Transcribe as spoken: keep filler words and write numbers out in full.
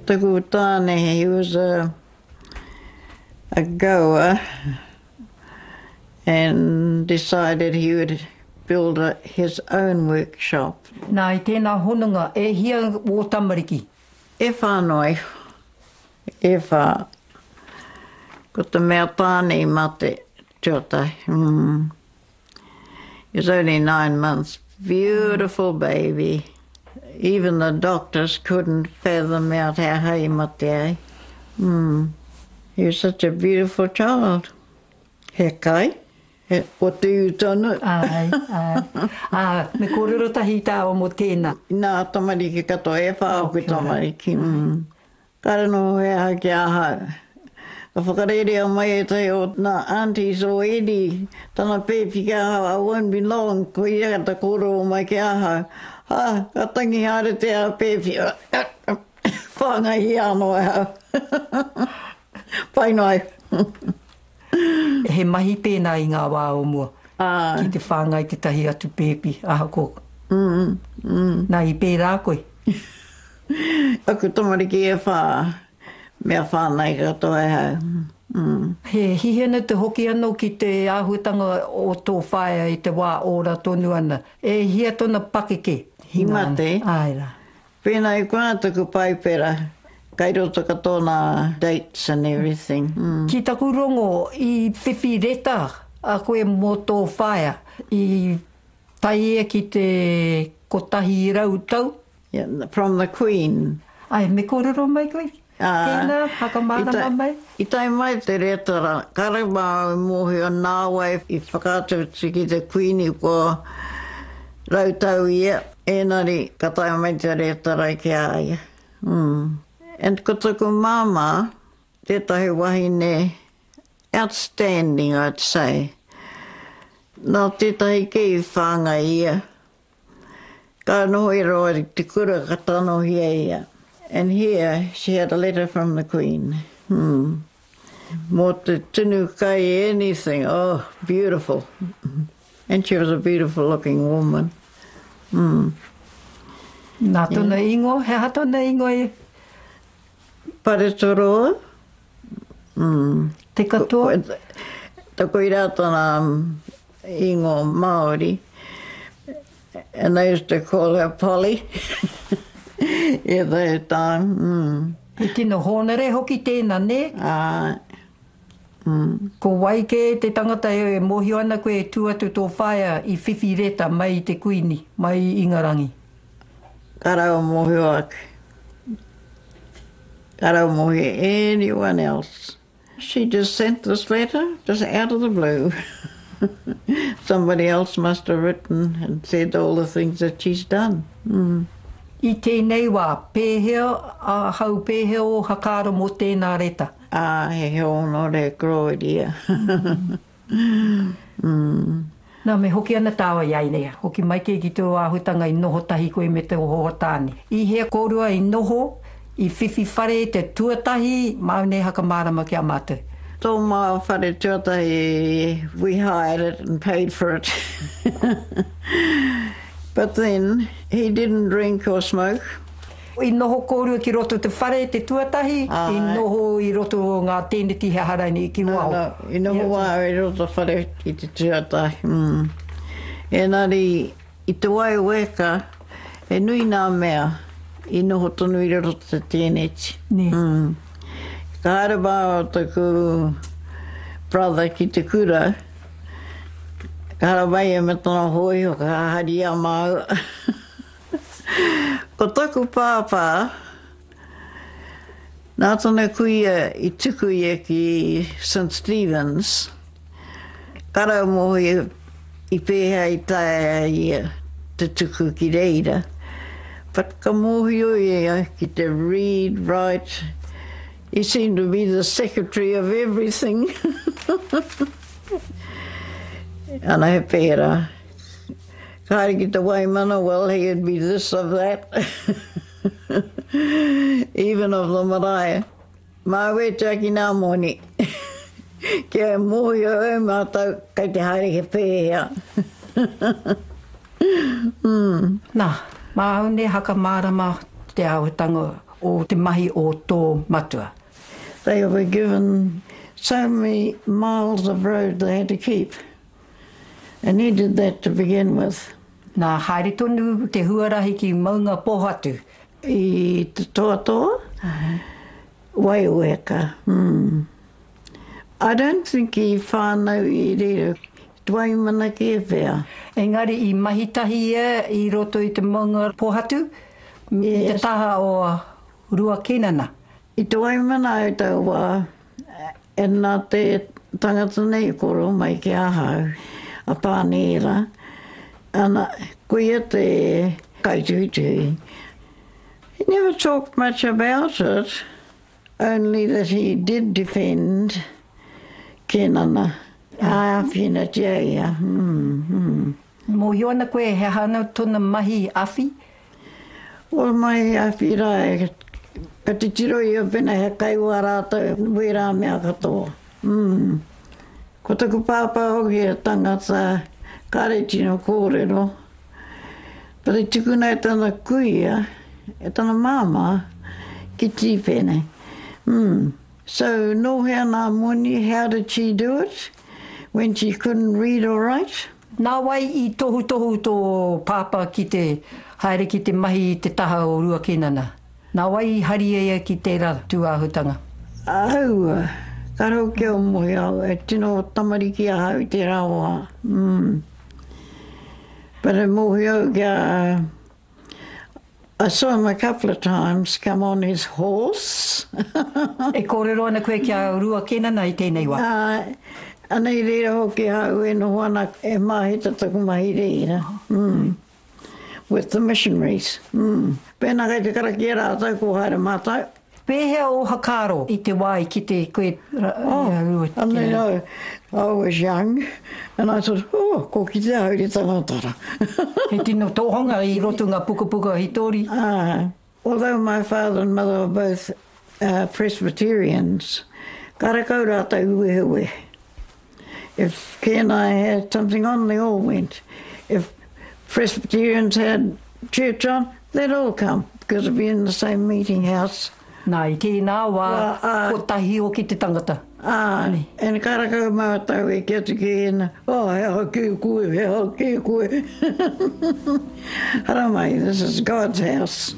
Taku tāne, he was a, a goer and decided he would build a, his own workshop. Nā, i tēnā hononga, e hia wō tamariki? E whā noa iho. E whā. Ko te mea tāne i mate tuatahi. Mm. He was only nine months. Beautiful baby. Even the doctors couldn't fathom out how he mate ai. Mm. He was such a beautiful child. He kai. He, ko te tonu. Ai, ai. Ā, me kōrero tahi tāua mō tēnā. Nā tamariki katoa, e whā aku tamariki. Mm. Kāre noho he aha ki ahau. Ka whakarerea mai ētahi o nā aunties o Eddie, tana pēpi ki ahau, I won't be long, ko ia ka ta kōrero mai ki ahau. Ha, ka tangi haere te a pēpi. Whāngaihia anō e hau. Pai noa. He mahi pēnā i ngā wā o mua. Āe. Ki te whāngai tētahi atu pēpi, ahakoa. Mm, mm. Nā, i pērā koe? Aku tamariki e whā, mea whāngai katoa e hau. Mm. He hihena te hoki anō ki te āhuatanga o tō whaea i te wā ora tonu ana. E hia tōna pakeke? I mate. Āe rā. Pēnā i konā taku paipera, kai roto katoa nā dates and everything. Mm. Ki taku rongo, i whiwhi reta a koe mō tō whaea, i tae ia ki te kotahi rau tau? Yeah, from the Queen. Āe, me kōrero mai koe? Ā, Tēnā, whakamārama mai. I tae mai te reta rā, kāre māu i mōhio nā wai i whakaatu atu ki te Kuini kua rau tau ia, ēnari ka tae mai te reta rā ki a ia. Mm. And ko taku māmā, tētahi wahine outstanding, I'd say. Nā tētahi kē i whāngai ia. Ka noho i roa i te kura ka tanohia ia. And here she had a letter from the Queen. Hmm. Mō te tunu kai anything. Oh, beautiful. And she was a beautiful looking woman. Mm. Nā tōna ingoa, he aha tōna ingoa e? Paretoroa. Mm. Te katoa? Koirā tana ingoa Māori. And they used to call her Polly. At that time. Mm. He tino hōnore hoki tēnā, nē? Āe. Mm. Ko wai kē te tangata e mōhio ana koe e tū atu tō whaea i whiwhi reta mai i te Kuini, mai i Ingarangi? Ka rau mōhio ake. Ka rau mōhio anyone else. She just sent this letter, just out of the blue. Somebody else must have written and said all the things that she's done. Mm. I tēnei wā, pēhea ahau, pēhea ō whakaaro mō tēnā reta? Ā, he hōnore kororia. Mm. Nā, me hoki ana tāua i a ia, hoki mai kē ki tō āhuatanga i noho tahi koe me tō hoa tāne. I hea kōrua i noho, i whiwhi whare te tuatahi, māu nei whakamārama ki a mātou. Tō māua whare tuatahi, we hired it and paid for it. But then, he didn't drink or smoke. I noho kōrua ki roto te whare te tuatahi, i noho i roto o ngā tēneti he aha rainei ki waho. No, no, i noho wā i roto whare i te tuatahi. Mm. Engari, i te Waiweka, he nui nā mea i noho tonu i roto te tēneti. Nē. Mm. Ka haere māua taku brother ki te kura, ka haere mai ia me tana hōiho, ka hari i a māua. Ko taku pāpā, nā tana kuia i tuku ia ki St Stephen's, ka rau mōhio i pēhea i taea ia te tuku ki reira. But ka mōhio ia ki te read, write, he seemed to be the secretary of everything. Ana he pērā. Ka haere ki te Waimana, well, he'd be this of that. Even of the marae. Māu e tiaki nā moni. Kia mōhio e mātou kei te haere he pēhea. Mm. Nā, māu nei whakamārama te āhuatanga o te mahi o tō matua? They were given so many miles of road they had to keep. And he did that to begin with. Nā, haere tonu te huarahi ki Maungapōhatu. I te toatoa, Waioweka. Mm. I don't think i whānau i reira. Te Waimana kē pea. Engari i mahi tahi ia i roto i te Maungapōhatu, i te taha o Rua Kenana. I te Waimana au tau wā, e nā te tangata nei i kōrero mai ki ahau, a Pānēra, ana, ko ia te kaituhituhi. He never talked much about it, only that he did defend Kenana. Āwhinatia ia. Mm, mm. Mōhio ana koe he aha ana tōna mahi awhi? Well, mahi awhi rā, e, ka titiro ia pena he kai wā rātou, wērā mea katoa. Mm. Ko taku pāpā hoki he tangata kāre tino kōrero, but i tukuna e tana kuia, e tana māmā, ki Tīpene. Mm. So, nō hea nā moni, how did she do it when she couldn't read or write? Nā wai i tohutohu tō pāpā ki te haere ki te mahi i te taha o Rua Kenana? Nā wai i hari ia ki tērā tūāhutanga? Aua, ka rau kia o mohi au, e tino tamariki ahau i tērā wā. Mm. But e mōhio au kia, I saw him a couple of times come on his horse. E kōrero ana koe ki a Rua Kenana i tēnei wā? Ā, anei reira hoki ahau e noho ana e māhita taku mahi reira. Mm. With the missionaries. Mm. Pēnā kei te karakia rātou, ko haere mātou. Pēhea ō whakaaro i te wā i kite koe i a Rua Kenana? I mean, I, I was young, and I thought, oh, ko kite ahau te tangata ra. He tino tohunga i roto ngā pukapuka hitori. Uh, although my father and mother were both uh, Presbyterians, karekau rātou wehewehe. If Ken and I had something on, they all went. If Presbyterians had church on, they'd all come, because it'd be in the same meeting house. Nā, i tēnā wā, kotahi hoki te tangata. Āe, and karekau mātou e ki atu ki ēnā, oh, he aha kē koe, he aha kē koe. Haramai, this is God's house.